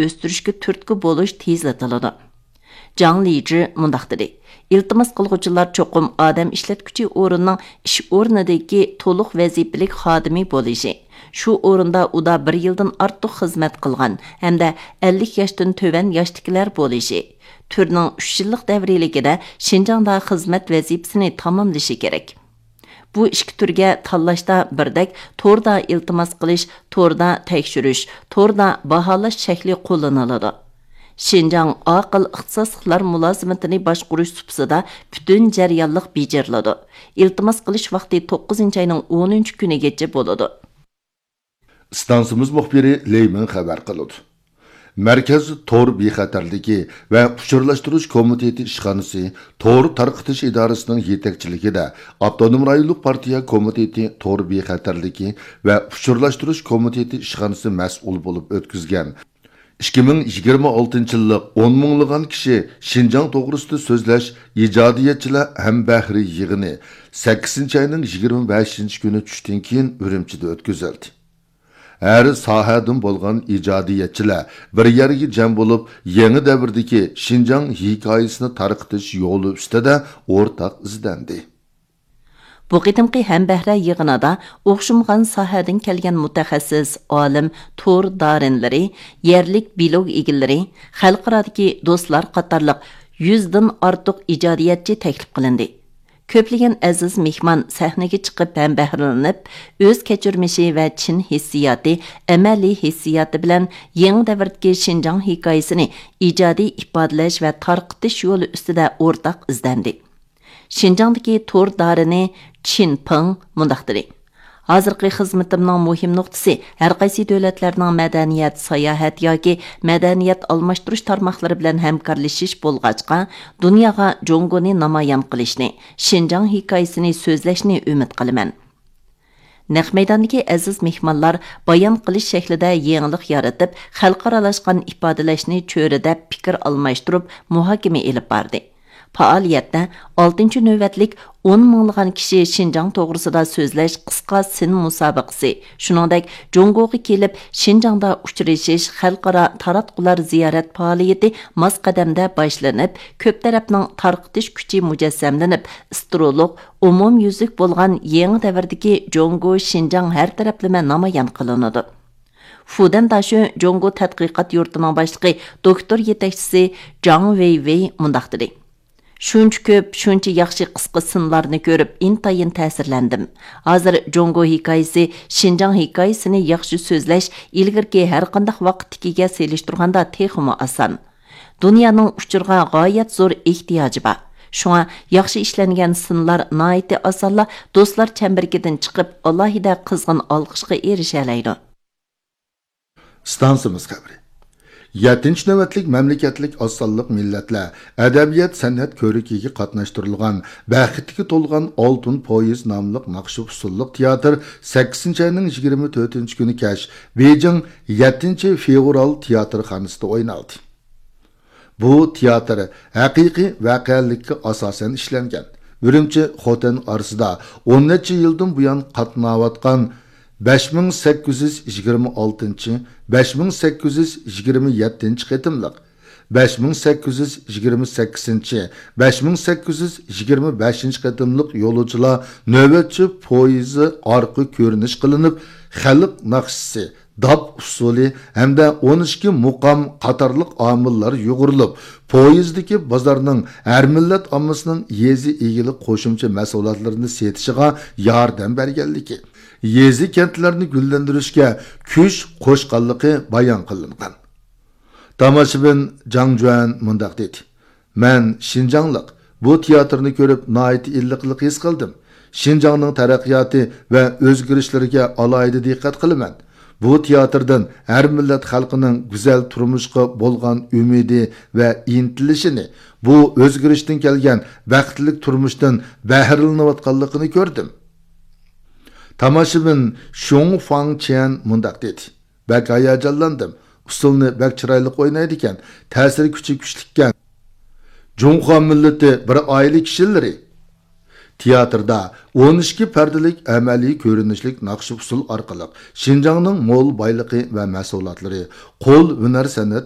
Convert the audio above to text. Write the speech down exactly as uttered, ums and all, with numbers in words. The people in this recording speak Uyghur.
ئۆستۈرۈشكە تۈرتكە بولۇش تېزلىتىلىدۇ. جاڭ لىجى مۇنداق دېدى: «ئىلتىماس قىلغۇچىلار چوقۇم ئادەم ئىشلەتكۈچى ئورۇننىڭ ئىش ئورنىدىكى تولۇق ۋەزىپىلىك خادىمى بولۇشى، شۇ ئورۇندا ئۇدا بىر يىلدىن ئارتۇق خىزمەت قىلغان ھەمدە ئەللىك ياشتىن تۆۋەن ياشتىكىلەر بولۇشى، تۈرنىڭ ئۈچ يىللىق دەۋرىيلىكىدە شىنجاڭدا خىزمەت ۋەزىپىسىنى تاماملىشى كېرەك.» بۇ ئىككى تۈرگە تاللاشتا بىردەك توردا ئىلتىماس قىلىش، توردا تەكشۈرۈش، توردا باھالاش شەكلى قوللىنىلىدۇ. شىنجاڭ ئاقىل ئىختىساسلىقلار مۇلازىمىتىنى باشقۇرۇش سۇپىسىدا پۈتۈن جەريانلىق بېجىرىلىدۇ. ئىلتىماس قىلىش ۋاقتى توققۇزىنچى ئاينىڭ ئونىنچى كۈنىگىچە بولىدۇ. ئىستانسىمىز مۇخبىرى لېي مىڭ خەۋەر قىلىدۇ. مەركەز تور بىخەتەرلىكى ۋە ئۇچۇرلاشتۇرۇش كومىتېتى ئىشخانىسى تور تارقىتىش ئىدارىسىنىڭ يېتەكچىلىكىدە ئاپتونوم رايونلۇق پارتىيە كومىتېتى تور بىخەتەرلىكى ۋە ئۇچۇرلاشتۇرۇش كومىتېتى ئىشخانىسى مەسئۇل بولۇپ ئۆتكۈزگەن ئىككى مىڭ يىگىرمە ئالتىنچى يىللىق ئون مىڭلىغان كىشى شىنجاڭ توغرىسىدا سۆزلەش ئىجادىيەتچىلەر ھەمبەھرى يىغىنى سەككىزىنچى ئاينىڭ يىگىرمە بەشىنچى كۈنى چۈشتىن كېيىن ئۈرۈمچىدە ئۆتكۈزۈلدى. ھەر ساھەدىن بولغان ئىجادىيەتچىلەر بىر يەرگە جەم بولۇپ، يېڭى دەۋردىكى شىنجاڭ ھېكايىسىنى تارقىتىش يولى ئۈستىدە ئورتاق ئىزدەندى. بۇ قېتىمقى ھەمبەھرە يىغىنىدا ئوخشىمىغان ساھەدىن كەلگەن مۇتەخەسسىس، ئالىم، تور دارىنلىرى، يەرلىك بىلوگ ئىگىلىرى، خەلقئارادىكى دوستلار قاتارلىق يۈزدىن ئارتۇق ئىجادىيەتچى تەكلىپ قىلىندى. كۆپلىگەن ئەزىز مېھمان سەھنىگە چىقىپ ھەمبەھرىلىنىپ، ئۆز كەچۈرمىشى ۋە چىن ھېسسىياتى، ئەمەلىي ھېسسىياتى بىلەن يېڭى دەۋردىكى شىنجاڭ ھېكايىسىنى ئىجادىي ئىپادىلەش ۋە تارقىتىش يولى ئۈستىدە ئورتاق ئىزدەندى. شىنجاڭدىكى تور دارىنى چىن پېڭ مۇنداق دېدى: «ھازىرقى خىزمىتىمنىڭ مۇھىم نۇقتىسى ھەرقايسى دۆلەتلەرنىڭ مەدەنىيەت، ساياھەت ياكى مەدەنىيەت ئالماشتۇرۇش تارماقلىرى بىلەن ھەمكارلىشىش بولغاچقا، دۇنياغا جۇڭگونى نامايان قىلىشنى، شىنجاڭ ھېكايىسىنى سۆزلەشنى ئۈمىد قىلىمەن.» نەق مەيداندىكى ئەزىز مېھمانلار بايان قىلىش شەكلىدە يېڭىلىق يارىتىپ، خەلقئارالاشقان ئىپادىلەشنى چۆرىدەپ، پىكىر ئالماشتۇرۇپ، مۇھاكىمە ئېلىپ باردى. پائالىيەتتە ئالتىنچى نۆۋەتلىك ئون مىڭلىغان كىشى شىنجاڭ توغرىسىدا سۆزلەش قىسقا سىن مۇسابىقىسى، شۇنىڭدەك جۇڭگوغا كېلىپ شىنجاڭدا ئۇچرىشىش خەلقئارا تاراتقۇلار زىيارەت پائالىيىتى ماس قەدەمدە باشلىنىپ، كۆپ تەرەپنىڭ تارقىتىش كۈچى مۇجەسسەملىنىپ، ئىسترولۇق، ئومۇميۈزلۈك بولغان يېڭى دەۋردىكى جۇڭگو شىنجاڭ ھەر تەرەپلىمە نامايان قىلىنىدۇ. فۇدەن داشۆ جۇڭگو تەتقىقات يۇرتىنىڭ باشلىقى، دوكتور يېتەكچىسى جاڭ ۋېيۋېي مۇنداق دېدى: «شۇنچە كۆپ، شۇنچە ياخشى قىسقا سىنلارنى كۆرۈپ، ئىنتايىن تەسىرلەندىم. ھازىر جۇڭگو ھېكايىسى، شىنجاڭ ھېكايىسىنى ياخشى سۆزلەش ئىلگىرىكى ھەرقانداق ۋاقىتتىكىگە سېلىشتۇرغاندا تېخىمۇ ئاسان. دۇنيانىڭ ئۇچۇرغا غايەت زور ئېھتىياجى بار. شۇڭا ياخشى ئىشلەنگەن سىنلار ناھايىتى ئاسانلا دوستلار چەمبىرىكىدىن چىقىپ، ئالاھىدە قىزغىن ئالقىشقا ئېرىشەلەيدۇ.» ئىستانسىمىز خەۋىرى. يەتتىنچى نۆۋەتلىك مەملىكەتلىك ئاز سانلىق مىللەتلەر ئەدەبىيات سەنئەت كۆرىكىگە قاتناشتۇرۇلغان بەختكە تولغان ئالتۇن پويىز ناملىق ناخشا ئۇسسۇللۇق تىياتىر سەككىزىنچى ئاينىڭ يىگىرمە تۆتىنچى كۈنى كەچ بېيجىڭ يەتتىنچى فېۋرال تىياتىرخانىسىدا ئوينالدى. بۇ تىياتىر ھەقىقىي ۋەقەلىككە ئاساسەن ئىشلەنگەن. ئۈرۈمچى خوتەن ئارىسىدا ئون نەچچە يىلدىن بۇيان قاتناۋاتقان بەش مىڭ سەككىز يۈز يىگىرمە ئالتىنچى، بەش مىڭ سەككىز يۈز يىگىرمە يەتتىنچى قېتىملىق، بەش مىڭ سەككىز يۈز يىگىرمە سەككىزىنچى، بەش مىڭ سەككىز يۈز يىگىرمە بەشىنچى قېتىملىق يولۇچىلار نۆۋەتچى پويىزى ئارقا كۆرۈنۈش قىلىنىپ، خەلق ناخشىسى، داپ ئۇسسۇلى ھەمدە ئون ئىككى مۇقام قاتارلىق ئامىللار يۇغۇرۇلۇپ، پويىزدىكى بازارنىڭ ھەر مىللەت ئاممىسىنىڭ يېزا ئىگىلىك قوشۇمچە مەھسۇلاتلىرىنى سېتىشىغا ياردەم بەرگەنلىكى، يېزا كەنتلەرنى گۈللەندۈرۈشكە كۈچ قوشقانلىقى بايان قىلىنغان. تاماشىبىن جاڭ جۈەن مۇنداق دېدى: «مەن شىنجاڭلىق، بۇ تىياتىرنى كۆرۈپ ناھايىتى ئىللىقلىق ھېس قىلدىم. شىنجاڭنىڭ تەرەققىياتى ۋە ئۆزگىرىشلىرىگە ئالاھىدە دىققەت قىلىمەن. بۇ تىياتىردىن ھەر مىللەت خەلقىنىڭ گۈزەل تۇرمۇشقا بولغان ئۈمىدى ۋە ئىنتىلىشىنى، بۇ ئۆزگىرىشتىن كەلگەن بەختلىك تۇرمۇشتىن بەھرىلىنىۋاتقانلىقىنى كۆردۈم.» تاماشىبىن شۇڭ فاڭ چيەن مۇنداق دېدى: «بەك ھاياجانلاندىم. ئۇسسۇلنى بەك چىرايلىق ئوينايدىكەن، تەسىر كۈچى كۈچلۈككەن. جۇڭخۇا مىللىتى بىر ئائىلە كىشىلىرى.» تىياتىردا ئون ئىككى پەردىلىك ئەمەلىي كۆرۈنۈشلۈك ناخشا ئۇسسۇل ئارقىلىق شىنجاڭنىڭ مول بايلىقى ۋە مەھسۇلاتلىرى، قول ھۈنەر سەنئەت